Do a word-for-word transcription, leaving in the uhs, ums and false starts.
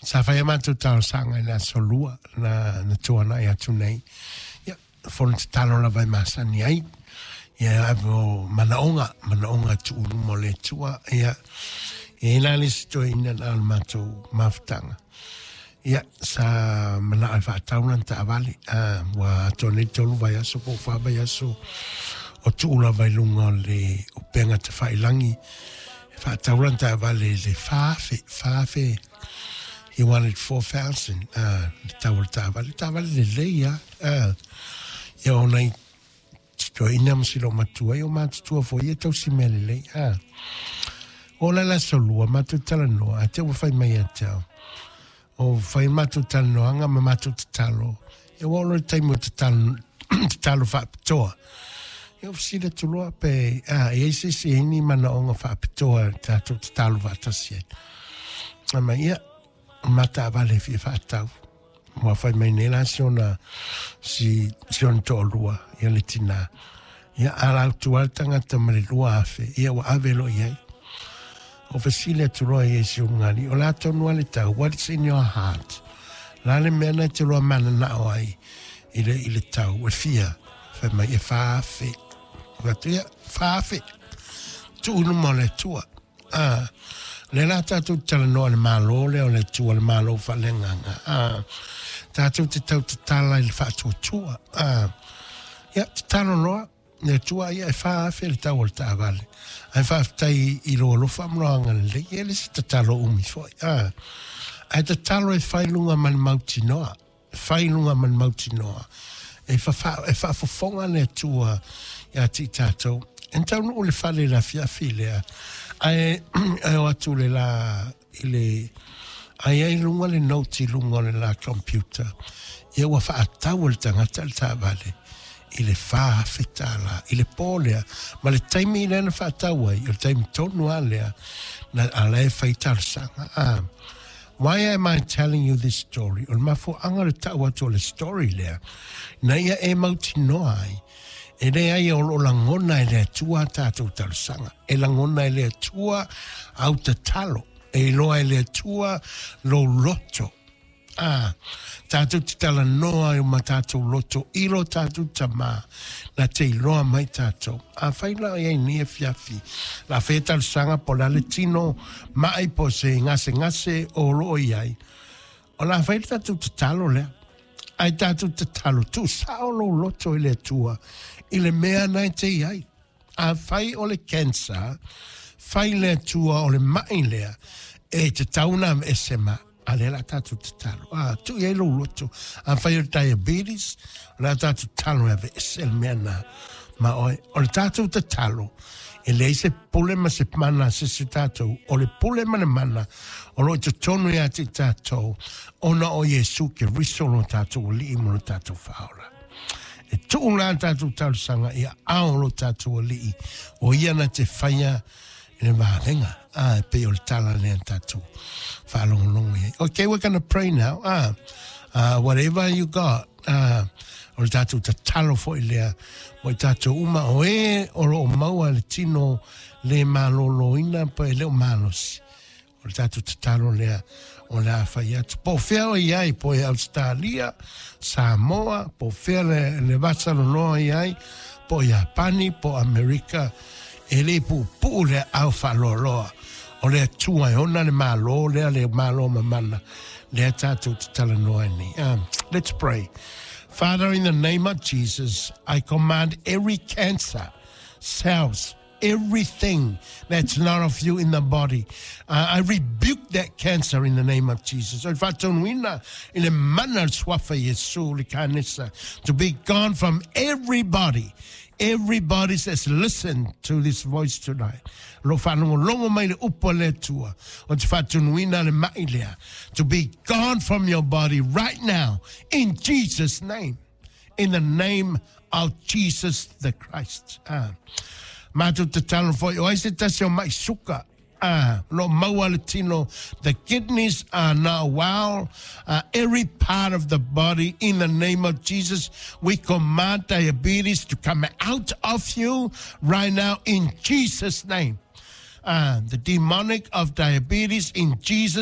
Sa fai a matou talosaga i le aso lua na, na tuanai atu nei. Ia, fono tatalo lava e masani ai. Ia, ave o manaoga, manaoga tuu i luma o le Atua. Ia, e i ai la le isi toeaina na o le matou mafutaga. Ia, sa manao e faatau lana taavale. Ah, ua atoa nei tolu vaiaso po o fa vaiaso o tuu lava i luga o le upega tafailagi. E faatau lana taavale i le fa afe, fa afe. He wanted four thousand, ah, le tau o le taavale. Taavale lelei lava. Ah, ia o nai toeaina ma si loomatua ai o matutua foi ia tausi mea lelei. Ah, o la le aso lua, matou talanoa, ae te ua fai mai ia te au. O fai matou talanoaga ma matou tatalo. Ia ua oo loa i le taimi o tatalo, tatalo faapitoa. Ia o fesili atu loa pe, a, e i ai se isi e i ai ni manaoga faapitoa e tatou tatalo faatasi ai. Fai mai, ia, o ma taavale e fia faatau. Ua fai mai nei la si ona, si, si ona toalua, ia le tinā. Ia, ala atu lava le tagata ma le lua afe, ia ua ave loa i ai. O fesili atu loa i ai si ulugalii, o le a tonu lava le tau, what is in your heart? O le a le mea na e te lua mananao ai i le, i le tau, e fia? Fai mai, e fa afe. Fai atu, ia, fa afe. Tuu i luma o le Atua. Ah, lea la tatou te talanoa i le Malo lea o le Atua, le Malo faaleagaga. Ah, tatou te tau tatala i le faatuatua. Ah, ia, tatalo loa le Atua, ia e fa afe le tau o le taavale. Ae faafetai i lou alofa ma lou agalelei, e le o se tatalo umi foi. Ah, ae tatalo e fai luga ma le mautinoa. Fai luga ma le mautinoa. E, fafa, e faafofoga le Atua ia te i tatou. E taunuu i le fale i le afiafi lea, ae, ae o atu le la i le, ae i ai luga le note i luga o le la computer, ia ua faatau e le tagata le taavale i le fa afe tala i le po lea, ma le taimi lea na faatau ai, o le taimi tonu lava lea, na ala e fai talosaga. Ah, why am I telling you this story? O le mafuaaga o le tau atu o le story lea, na ia e mautinoa ai, e leai o lo o lagona e le Atua a tatou talosaga. E lagona e le Atua au tatalo. E iloa e le Atua lou loto. Ah, tatou te talanoa i o ma tatou loto i lo tatou Tamā, na te iloa mai tatou. Afai la o i ai nei afiafi, la fai e talosaga po o le a le tino ma'i po o se gasegase o lo o i ai, o le a fai le tatou tatalo lea. Ae tatou tatalo, tuusao lou loto i le Atua i le mea na e te i ai. Afai o le cancer, fai le Atua o le ma'i lea e tatau ona aveese ma, a lea o le a tatou tatalo. A, tuu i ai lou loto. Afai o le diabetes, o le a tatou tatalo e aveese le mea na ma oe. O le tatou tatalo, e leai se pule ma se mana a se isi o tatou, o le pule ma le mana o lo o i totonu ia te i tatou, ona o Iesu Keriso lo tatou Alii ma lo tatou Faaola. E tuu la tatou talosaga i aao o lo tatou Alii, o ia na te faia i le vavega. Ah, e pei o le tala lea na tatou faalogologo i ai. Okay, we're gonna pray now. Ah, uh, whatever you got, ah, o le tatou tatalo foi lea mo i tatou uma o e o lo o maua le tino le malōlōina pe e le o malosi. O le tatou tatalo lea o le a fai atu. Po o fea o i ai, po e Ausetalia, Samoa, po o fea le, le vasaloloa i ai, po o Iapani, po o Amerika, e le puupuu le aao faaloaloa o le Atua e ona le Malo lea, le Malo mamana lea tatou te talanoa ai nei. Um, let's pray. Father, in the name of Jesus, I command every cancer cells, everything that's not of you in the body. Uh, I rebuke that cancer in the name of Jesus. O le faatonuina i le mana o le suafa Iesu le kanesa to be gone from everybody. Everybody that's listened to this voice tonight. Lo faalogologo mai le upu a le Atua o te faatonuina le ma'i lea to be gone from your body right now in Jesus' name. In the name of Jesus the Christ. Ah. Matou tatalo foi, o ai se tasi o ma'i suka, ah, lo o maua le tino, the kidneys are now well, uh, every part of the body, in the name of Jesus, we command diabetes to come out of you right now in Jesus' name. Uh, the demonic of diabetes in Jesus'